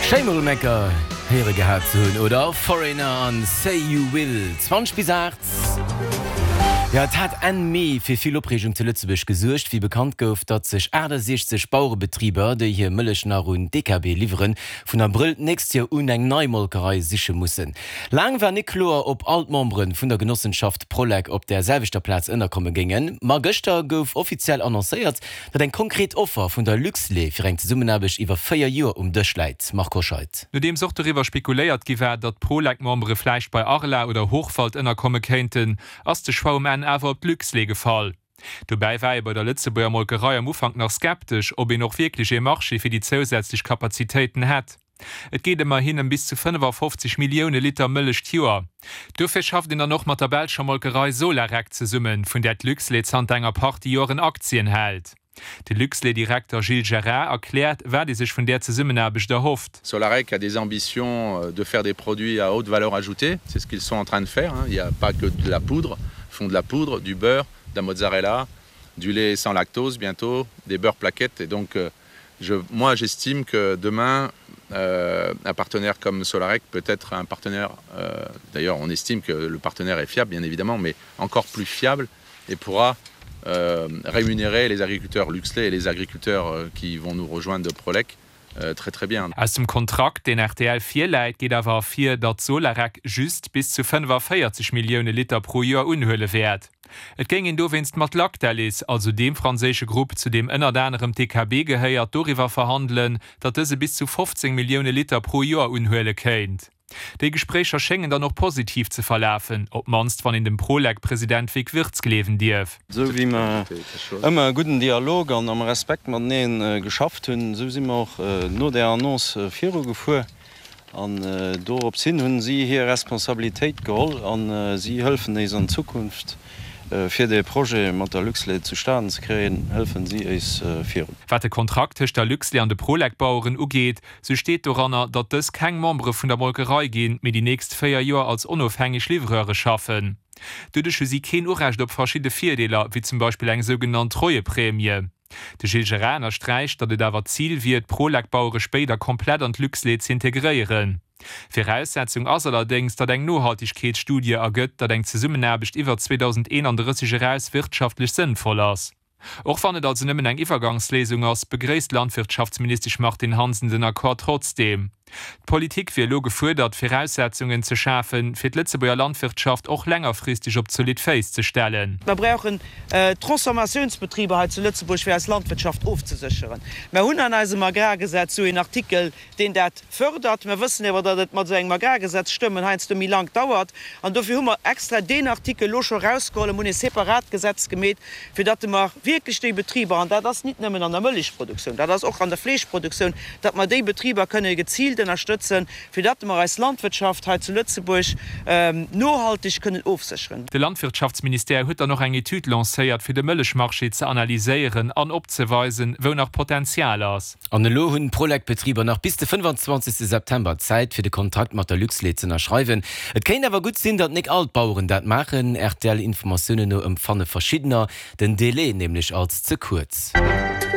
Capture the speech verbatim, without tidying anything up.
Schéi mol eng Kéier héiere gehat ze hunn, oder? Foreigner an Say You Will. zwanzeg bis aacht. Ja, et hat Enn Mee fir vill Opreegung zu Lëtzebuerg gesuergt, wéi bekannt gouf, datt sech aachtasechzeg Bauerebetriber, déi hir Mëllech nach un D K B liwweren, vun Abrëll d'nächst Joer un eng nei Molkerei siche mussen. Laang war net kloer, ob all d'Membere vun der Genossenschaft Prolec op der selwechter Plaz ënnerkomme géingen. Ma gëschter gouf offiziell annoncéiert, datt eng konkret Offer vun der Luxlait fir eng Zesummenaarbecht iwwer véier Joer um Dësch läit. Marco Scheid. Nodeems och doriwwer spekuléiert gi war, datt Prolec-Membere vläicht bei Arla oder Hochwald ënnerkomme kéinten, ass de Choix um Enn awer op d'Luxlait gefall. Dobäi war ee bei der Lëtzebuerger Molkerei am Ufank nach skeptesch, ob een och wierklech e Marché fir déi zousätzlech Kapazitéiten hätt. Et geet ëmmerhin ëm bis zu fënnefafofzeg Millioune Liter Mëllech d'Joer. Dofir schafft een dann och mat der belscher Molkerei Solarec zesummen, vun där d'Luxlait zanter enger Partie Joren Aktien hält. De Luxlait-Direkter Gilles Gerard erkläert, wat ee sech vun där Zesummenaarbecht erhofft. Solarec a des ambitions de faire des produits à haute valeur ajoutée, c'est ce qu'ils sont en train de faire. Il n'y a pas que de la poudre, ils font de la poudre, du beurre, de la mozzarella, du lait sans lactose bientôt, des beurres plaquettes et donc je, moi j'estime que demain euh, un partenaire comme Solarec peut être un partenaire, euh, d'ailleurs on estime que le partenaire est fiable bien évidemment, mais encore plus fiable et pourra euh, rémunérer les agriculteurs Luxlait et les agriculteurs euh, qui vont nous rejoindre de Prolec euh, très très bien. Aus dem Kontrakt, deen R T L virläit, geet awer ervir, datt Solarec just bis zu fënnefaféierzeg Millioune Liter pro Joer unhuele wäert. Et géing een dowéinst mat Lactalis, also deem franséische Grupp, zu deem ënnert anerem D K B gehéiert, doriwwer verhandelen, datt dëse bis zu fofzéng Millioune Liter pro Joer unhuele kéint. Déi Gespréicher schéngen dann och positiv ze verlafen, op d'mannst wann een dem Prolec-President Vic Wirtz gleewen dierf. Sou wéi mer ëmmer e gudden Dialog an am Respekt matenee geschafft hunn, sou si mer och no der Annonce virugefuer. An dorops hin hunn si hir Responsabilitéit geholl an si hëllefen eis an Zukunft fir de Projet mat der Luxlait zustanen ze kréien, hëllefen si eis virun. Wat de Kontrakt tëscht der Luxlait an de Prolec-Baueren ugeet, sou steet doranner, datt dës keng Membere vun der Molkerei ginn, mee déi nächst véier Joer als onofhängeg Livreure schaffen. Doduerch hu si keen Urecht op verschidde Virdeeler, wéi zum Beispill eng sougenannt Treueprämie. De Gilles Gerard ënnersträicht, datt et awer d'Zil wier, d'Prolec-Bauere spéider komplett an d'Luxlait z'integréieren. Viraussetzung ass allerdéngs, datt eng Nohaltegkeetsstudie ergëtt, datt eng Zesummenaarbecht iwwer zweedausendeenandrësseg eraus wirtschaftlech sënnvoll ass. Och wann et also nëmmen eng Iwwergangsléisung ass, begréisst d'Landwirtschaftsministesch Martine Hansen den Accord trotzdeem. D'Politik wier elo gefuerdert, Viraussetzungen ze schafen, fir d'Lëtzebuerger Landwirtschaft och längerfristeg op zolidd Féiss ze stellen. Mer brauchen Transformatiounsbetriber hei zu Lëtzebuerg fir eis Landwirtschaft ofzesécheren. Mer hunn an eisem Agrargesetz sou een Artikel, deen dat fërdert. Mer wëssen awer, datt et mat esou engem Agrargesetz stëmmen heiansdo méi laang dauert. An dofir hu mer extra deen Artikel elo scho erausgeholl, hunn e separat Gesetz gemeet, fir datt mer wierklech déi Betriber, an dat ass nit nëmmen an der Mëllechproduktioun, dat ass och an der Fleeschproduktioun, datt mer déi Betriber kënne geziilt ënnerstëtzen, fir datt mer eis Landwirtschaft hei zu Lëtzebuerg nohalteg kënnen ofsécheren. De Landwirtschaftsministère huet dann och eng Etüd lancéiert, fir de Mëllechmarché ze analyséieren an opzeweisen, wou nach Potenzial ass. An elo hunn d'Prolec-Betriber nach bis de fënnefanzwanzegste September Zäit, fir de Kontrakt mat der Luxlait ze ënnerschreiwen. Et kéint awer gutt sinn, datt net all d'Baueren dat maachen. R T L-Informatiounen no empfanne verschiddener den Delai nämlech als ze kuerz.